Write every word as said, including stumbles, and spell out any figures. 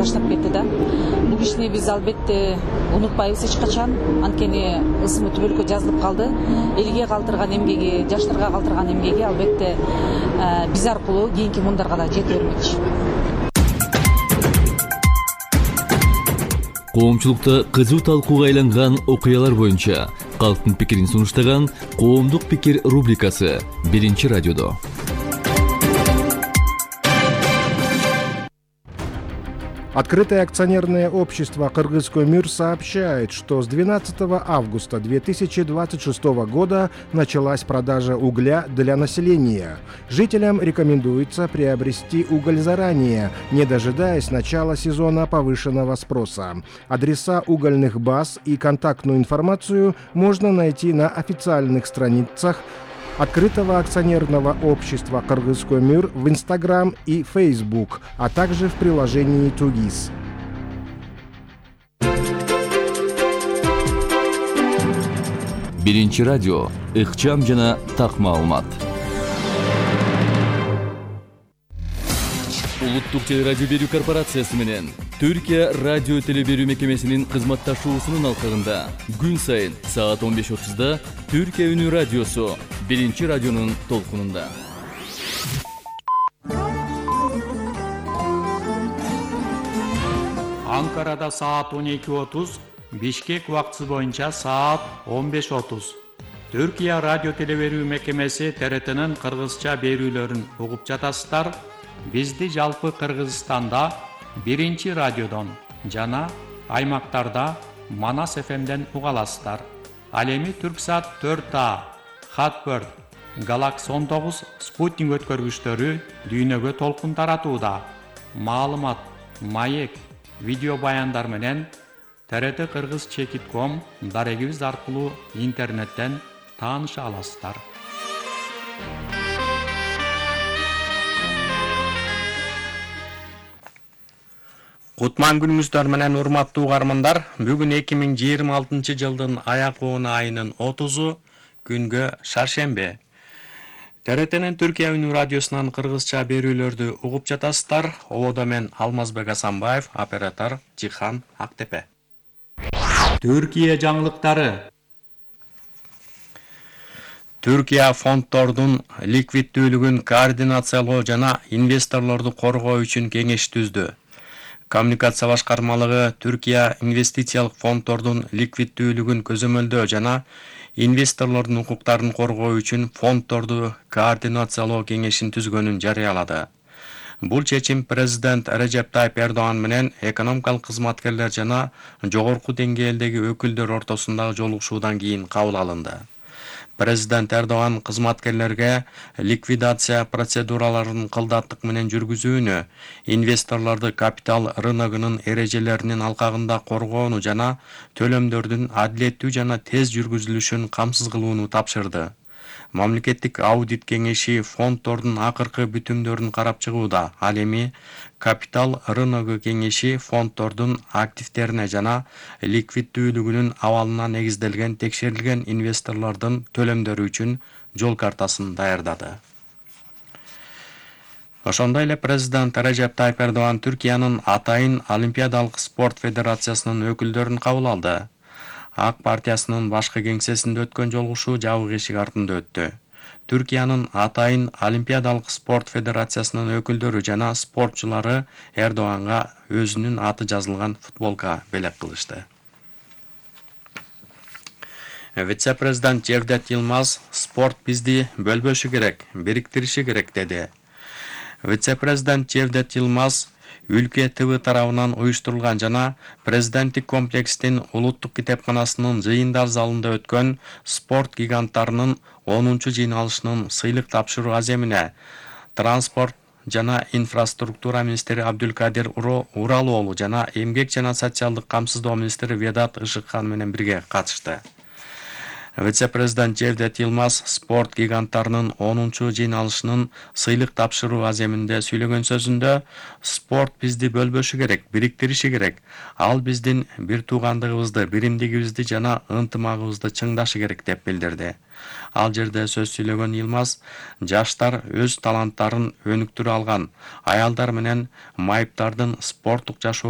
баштап кетти да. Бул кишини биз албетте унутпайбыз эч качан. Анткени ысымы түбөлүккө жазылып калды. Элге калтырган эмгеги, жаштарга калтырган эмгеги албетте биз аркылуу кийинки муундарга да жете бермекчи. Коомчулукта кызуу талкууга айланган окуялар боюнча калктын пикирин сунуштаган Коомдук пикир рубрикасы биринчи радиодо. Открытое акционерное общество «Кыргызкөмүр» сообщает, что с двенадцатого августа две тысячи двадцать шестого года началась продажа угля для населения. Жителям рекомендуется приобрести уголь заранее, не дожидаясь начала сезона повышенного спроса. Адреса угольных баз и контактную информацию можно найти на официальных страницах Открытого акционерного общества «Кыргызкөмүр» в Инстаграм и Фейсбук, а также в приложении «Тугис». Биринчи радио, ыкчам жана так маалымат. Улуттук телерадио берүү корпорациясы менен Түркия радио телеберүү мекемесинин кызматташуусунун алкагында күн сайын саат он беш отузда Түркия үнү радиосу биринчи радионун толкунунда. Анкарада саат он эки отуз, Бишкек убактысы боюнча саат он беш отуз. Түркия радио телеберүү мекемеси Т Р Т'нин кыргызча берүүлөрүн угуп жатасыздар. Бизди жалпы Кыргызстанда биринчи радиодон жана аймактарда Манас эф эмден уга аласыздар. Ал эми Түрксат төрт А, Хатбird, Galaxy он тогуз спутник өткөргүчтөрү дүйнөгө толкун таратууда. Маалымат, маек, видео баяндар менен Т Р Т кыргыз чекит точка ком дарегибиз аркылуу интернеттен тааныша аласыздар. Кутман күнүңүздөр менен урматтуу угармандар, бүгүн эки миң жыйырма алтынчы жылдын аяк-оона айынын отузу күнгө шаршембе. Т Р Т'нин Түркия үнү радиосунан кыргызча берүүлөрдү угуп жатасыздар. Ободо мен Алмазбек Асанбаев, оператор Жихан Актепе. Түркия жаңылыктары. Түркия фонддордун ликвиддүүлүгүн координациялоо жана инвесторлорду коргоо үчүн кеңеш түздү. Коммуникация башкармалыгы Түркия инвестициялык фонддордун ликвиддүүлүгүн көзөмөлдөө жана инвесторлордун укуктарын коргоо үчүн фонддорду координациялоо кеңешин түзгөнүн жарыялады. Бул чечим президент Режеп Тайып Эрдоган менен экономикалык кызматкерлер жана жогорку деңгээлдеги өкүлдөр ортосундагы жолугушуудан кийин кабыл алынды. Президент Эрдоган кызматкерлерге ликвидация процедураларын кылдаттык менен жүргүзүүнү, инвесторлорду капитал рыногунун эрежелеринин алкагында коргоону жана төлөмдөрдүн адилеттүү жана тез жүргүзүлүшүн камсыз кылууну тапшырды. Мамлекеттик аудит кеңеши фонддордун акыркы бүтүмдөрүн карап чыгууда. Ал эми капитал рыногу кеңеши фонддордун активтерине жана ликвиддүүлүгүнүн абалына негизделген текшерилген инвесторлордун төлөмдөрү үчүн жол картасын даярдады. Ошондой эле президент Режеп Тайып Эрдоган Түркиянын атайын Олимпиадалык спорт федерациясынын өкүлдөрүн кабыл алды. Ак партиясынын башкы кеңсесинде өткөн жолугушуу жабык эшик артында өттү. Түркиянын атайын Олимпиадалык спорт федерациясынын өкүлдөрү жана спортчулары Эрдоганга өзүнүн аты жазылган футболка белек кылышты. Вице-президент Жевдет Йылмаз спорт бизди бөлбөшү керек, бириктириши керек деди. Вице-президент Жевдет Йылмаз Ülke Т В тарабынан уюштурулган жана президенттик комплекстин улуттук китепканасынын жыйындар залында өткөн спорт гиганттарынын онунчу жыйналышынын сыйлык тапшыруу аземине транспорт жана инфраструктура министри Абдулкадир Уралоолу жана эмгек жана социалдык камсыздоо министри Ведат Ышыкхан менен бирге катышты. Вице-президент Жевдет Йылмаз спорт гиганттарынын онунчу жыйналышынын сыйлык тапшыруу аземинде сүйлөгөн сөзүндө спорт бизди бөлбөшү керек, бириктириши керек. Ал биздин бир туугандыгыбызды, биримдигибизди жана ынтымагыбызды чыңдашы керек деп билдирди. Ал жерде сөз сүйлөгөн Йылмаз жаштар өз таланттарын өнүктүрө алган, аялдар менен майыптардын спорттук жашоо